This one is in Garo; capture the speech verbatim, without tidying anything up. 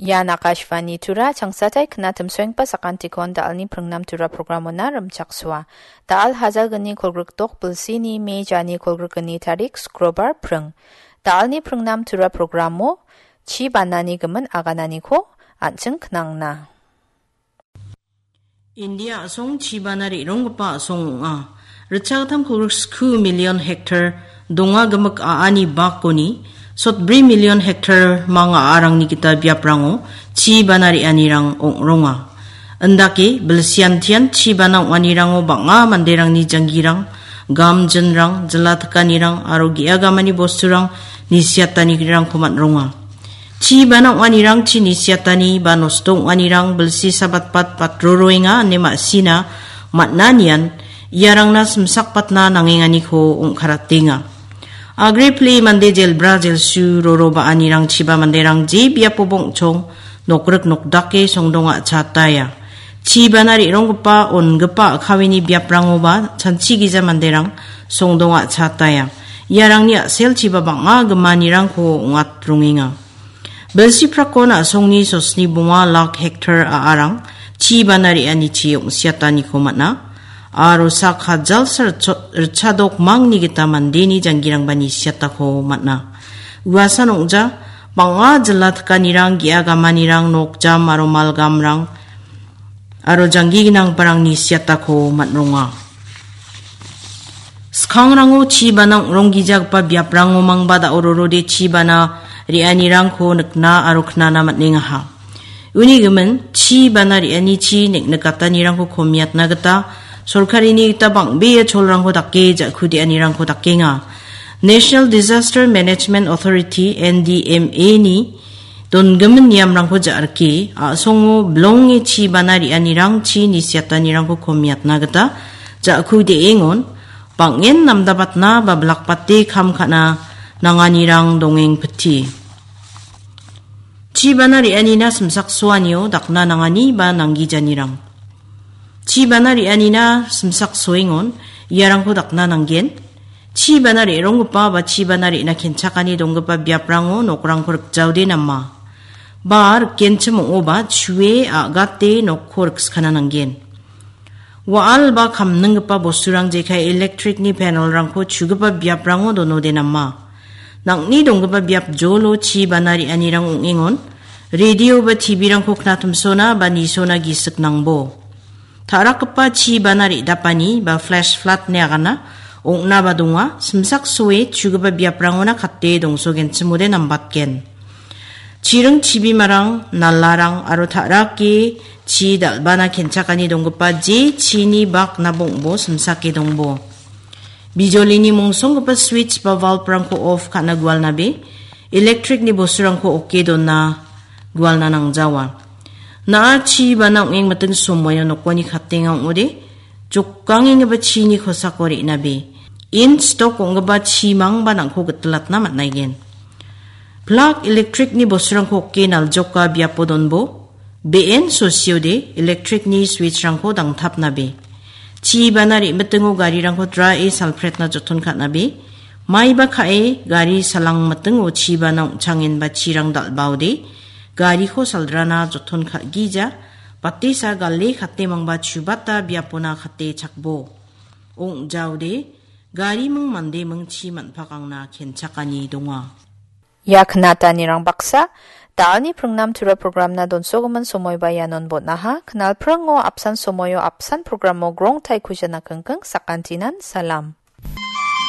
Ian Akashvani Tura, changsatai knatimsoenggipa sakantikon da·alni pringnam Tura programona rimchaksoa. Da·al hajalgni kolgrikdok bilsini me jani kolgrikgni tarik Skrobar pring. Da·alni pringnam Tura programo chi banani gimin agananiko an·ching knangna. India a·song chi bana re·ronggipa a·song ong·a. Ritchagittam kolgrik sku million hektar donga gimik a·ani bakoni sotbri million hektar manga a·arangni gita biaprango chi bana re·anirang ong·ronga. Indake bilsiantian chi bana ong·anirango bang·a manderangni janggirang, gamjinrang, jila tikanirang aro ge·agamani bosturang nisiatanirangko man·ronga. Chi bana ong·anirang chi nisiatani ba nosto ong·anirang bilsi sabatbat batroroenga ine ma·sina man·anian iarangna simsakbatna nangenganiko ong·karatenga. Agre pile mande jelbra jelsu roro ba·anirang chiba manderang je biapoba ong·chong nokrik nokdake songdonga chataya. Chi bana re·ronggipa ongipa a·kawini biaprangoba chanchi gija manderang songdonga chataya. Iarangni a·selchiba bang·a gimanirangko ong·atrongenga. Bilsi prakon a·songni sosni bonga lak hektar a·arang chi bana re·anichi ong·siataniko man·a. Aro sak hajalsa ritchot-, ritchadok mangni gita mandeni janggirangba nisiatako man·a. Uasan ong·ja, bang·a jila tikanirang, ge·a gamanirang, nokjam aro malgamrang, aro janggi ginanggiparangni siatako man·ronga. Skangrango chi bana ong·ronggijagipa biaprango mangba da·o rorode chi bana re·anirangko nikna aro knana man·engaha. Uni gimin, chi bana re·anichi nik-, nikatanirangko komiatna gita sorkarini gita bang·bea cholrangko dake ja·kudeanirangko dakenga. National Disaster Management Authority, N D M A-ni dongimin niamrangko ja·rike, a·songo bilonge chi bana re·anirangchi nisiatanirangko komiatna gita ja·ku de·engon, bang·en namdabatna ba bilakbate kam ka·na nanganirang dongengpiti. Chi bana re·anina simsaksoanio dakna nangani ba nanggijanirang. Chi bana re·anina simsaksoengon iarangko dakna nanggen. Chi bana re·ronggipa ba chi bana re·na kenchakani donggipa biaprango nokrangko rikjaode nama. Ba rikenchim ong·oba chue a·gate nokko rikskana nanggen. Wa·al ba kamninggipa bosturang jekai electric-ni panel-rangko chugipa biaprango donode nama. Nang·ni donggipa biap jolo chi bana re·anirang ong·engon, radio ba T V-rangko knatimsona ba nisona gisik nangbo. Ta·rakgipa chi bana re·dapani ba flash flood ine agana ong·naba donga, simsaksoe chugipa biaprangona kate dongsogenchimode nambatgen. Chiring chibimarang, nalarang aro ta·rake chi dal·bana kenchakani donggipa je chini bak nabongbo simsake dongbo. Bijolini mongsonggipa switch ba valve-rangko off ka·na gualnabe, electric-ni bosturangko oke dona gualna nangjawa. Na·a chi bana ong·engmiting somoio nokoni katenga ong·ode, jokangenggipa chini kosako re·nabe, in stok ong·gipa chimangba nang·ko gitilatna man·aigen. Plak electric-ni bosturangko oke naljoka biapo donbo, be·en sosiode electric-ni switch-rangko dangtapnabe. Chi bana re·mitingo garirangko drae salpretna joton ka·nabe. Maiba ka·e gari salangmitingo chi bana ong·changenba chirang dal·baode gariko saldrana joton ka·gija. Batesa gale katemangba chubata biapona kate chakbo. Ong·jaode gariming mandeming chi man·pakangna kenchakani donga. Ia knatanirang baksa, da·alni pringnam Tura programna donsogimin somoiba ianon bon·aha. Knalpringo apsan somoio apsan programo grongtai kujana kingking sakantinan salam.